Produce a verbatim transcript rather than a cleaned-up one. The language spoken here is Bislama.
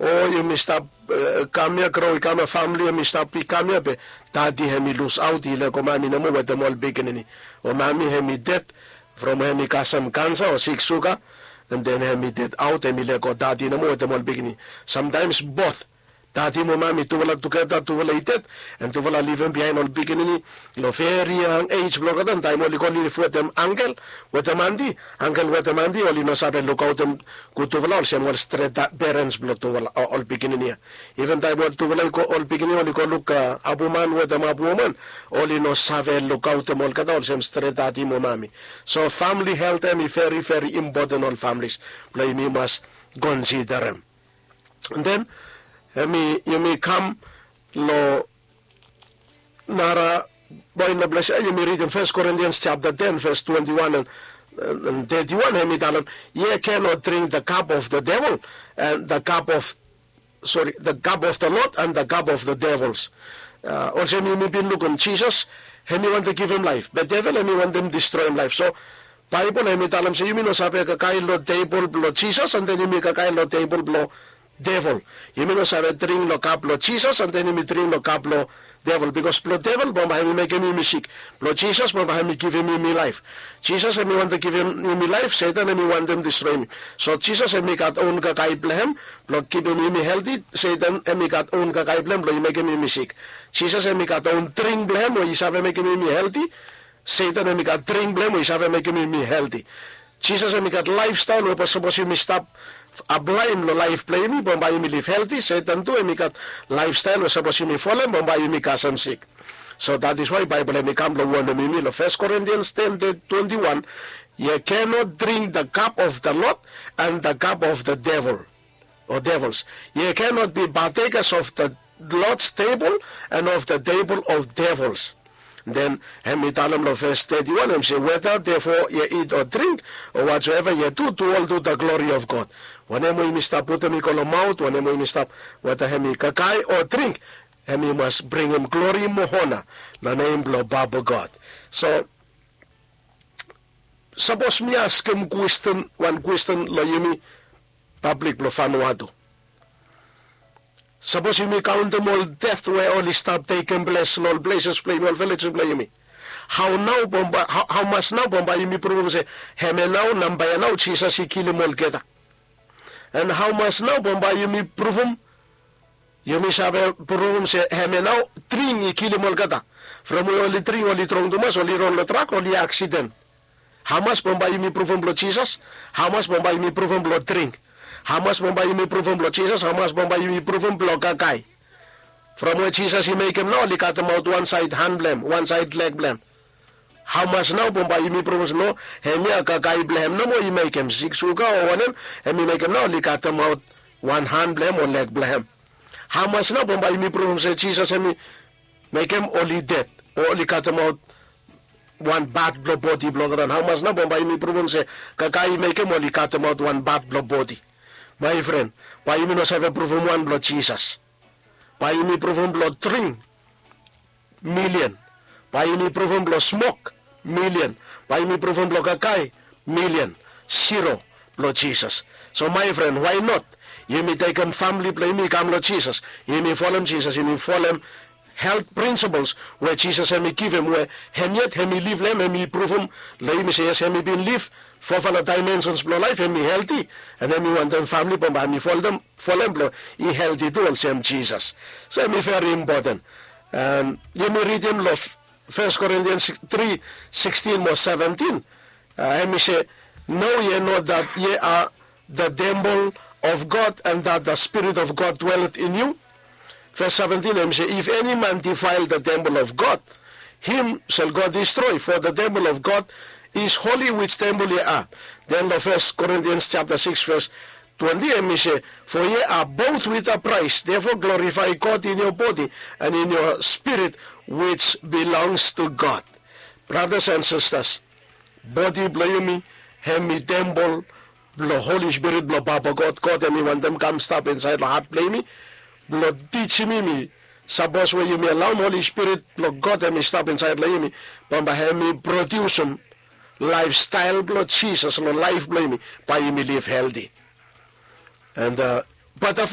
o yumi stap kam ya, gro i kam ya, famili hemi stap i kam ya be dadi hemi lusaot, i lego mami nomo wetem ol pikinini. O mami hemi ded from hemi kasem kansa o sik suga, and then hemi dedaot, hemi lego dadi nomo wetem ol pikinini. Samtaims both dadi mo mami tufala tugeta tufala i ded, and tufala livim biaen ol pikinini long veri yang ej blong olgeta. Taem oli go liv wetem angkel wetem anti, angkel wetem anti oli no save lukaotem gud tufala olsem ol stret perens blong tufala o ol pikinini ya. Iven taem ol tufala i go, ol pikinini oli go luk habuman wetem habuwoman, oli no save lukaotem olgeta olsem stret dadi mo mami. So famili helt hemi veri veri impoten, ol familis blong yumi mas konsiderem. Den hemi yumi kam long nara poen long ples ya, yumi ridim Fes Korintians japta ten ves twenti wan and thirty wan, hemi talem, ye cannot drink the cup of the devil and the cup of, sorry, the cup of the Lord and the cup of the devils. Olsem yumi bin lukim, Jisas hemi wantem givim laef, be devel hemi wantem distroem laef. So Baebol hemi talem se yumi no save kakae long tebol blong Jisas and den yumi kakae long tebol blong devel. Yumi no save dring long kap blong Jisas and den yumi dring long kap blong devel, bikos blong devel bambae hemi mekem yumi sik. Blong Jisas bambae hemi givim yumi laef. Jisas hemi wantem givim yumi laef, Setan hemi wantem distroem yumi. So Jisas hemi gat own kakae blong hem blong kipim yumi helti. Setan hemi gat own kakae blong hem blong i mekem yumi sik. Jisas hemi gat own dring blong hem we i save mekem yumi helti. Setan hemi gat dring blong hem we i save mekem yumi helti. Jisas hemi gat laefstael we sapos yumi stap aplaem long laef blong yumi bambae yumi liv helti. Setan tu hemi gat laefstael we sapos yumi folem bambae yumi kasem sik. So that is why Baebol hemi kam blong wonem yumi long Fes Korintians ten twenti wan, ye cannot drink the cup of the Lord and the cup of the devil, o devils. Ye cannot be partakers of the Lord's table and of the table of devils. Den hemi talem long ves teti wan, hemi se, whether therefore ye eat or drink, or whatsoever ye do, do all to the glory of God. Wanem we yumi stap putum i go long maot, wanem we yumi stap, whether hemi kakae o dring, hemi mas bringim glori mo ona long nem blong Papa God. So sapos mi askem kwesten, wan kwesten long yumi, pablik blong Vanuatu. Sapos yumi kaontem ol ded we oli stap tekem ples long ol pleses blong yumi, ol vilejes blong yumi, hao nao bambae, hao, hamas nao bambae yumi pruvum se hemia nao namba ya nao Jisas i kilim olgeta? And hamas nao bambae yumi pruvum, yumi save pruvum se hemia nao dring i kilim olgeta? From we oli dring, oli trong tumas, oli ron long trak, oli aksiden. Hamas bambae yumi pruvum blong Jisas? Hamas bambae yumi pruvum blong dring? Hamas bambae yumi pruvum blong Jisas? Hamas bambae yumi pruvum blong kakae? From we Jisas i mekem nao oli katemaot wan saed han blong hem, wan saed leg blong hem. Hamas nao bambae yumi pruvum se no, hemia kakae blong hem nomo i mekem, sik suga o wanem, hemi mekem nao oli katemaot wan han blong hem o leg blong hem? Hamas nao bambae yumi pruvum se Jisas hemi mekem oli ded o oli katemaot wan pat blong bodi blong olgeta? Hamas nao bambae yumi pruvum se kakae i mekem oli katemaot wan pat blong bodi? Maefren, bae yumi no save pruvum wan blong Jisas. Bae yumi pruvum blong dring, milian. Bae yumi pruvum blong smok, milian. Bae yumi pruvum blong kakae, milian. Zero blong Jisas. So maefren, why not yumi tekem famili blong yumi i kam long Jisas? Yumi folem Jisas, yumi folem helt prinsipels we Jisas hemi givim, we hem yet hemi liv long hem, hemi pruvum long yumi se yes, hemi bin liv fofala daemensens blong laef, hemi helti, and hemi wantem famili bambae hemi folem, folem blong i helti tu olsem Jisas. So hemi veri impoten. And yumi ridim long Fes Korintians tri sikstin mo seventin. Hemi se, know ye not that ye are the temple of God, and that the Spirit of God dwelleth in you? Ves seventin hemi se, if any man defile the temple of God, him shall God destroy, for the temple of God is holy, which temple ye are. Den long Fes Korintians japta sikis ves twenti hemi se, for ye are bought with a price, therefore glorify God in your body and in your spirit, which belongs to God. Bratas and sistas, bodi blong yumi hemi tempol blong Holi Spirit blong Papa God. God hemi wantem kam stap insaed long hat blong yumi blong tijim yumi. Sapos we yumi alaom Holi Spirit blong God hemi stap insaed long yumi, bambae hemi prodiusim laefstael blong Jisas long laef blong yumi, bae yumi liv helti. And, uh, bataflae